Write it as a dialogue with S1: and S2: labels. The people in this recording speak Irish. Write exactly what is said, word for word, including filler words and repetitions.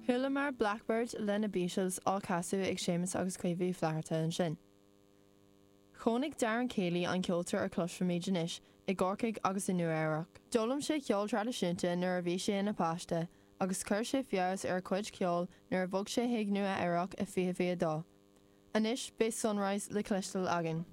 S1: Chualamar Blackbird le na Beatles á chasadh ag Séamus agus Caoimhe Flatharta ansin. Chónaigh Darren Caley an ceoltóir a chloisfimid anois i gCorcaigh agus i Nua-Eabhrac. D'fhoghlaim sé ceol traidisiúnta nuair a bhí sé ina pháiste, agus chuir sé feabhas ar a chuid ceoil nuair a bhog sé chuig Nua-Eabhrac i fiche fiche dó. Anois beidh Sunrise le cloisteáil againn.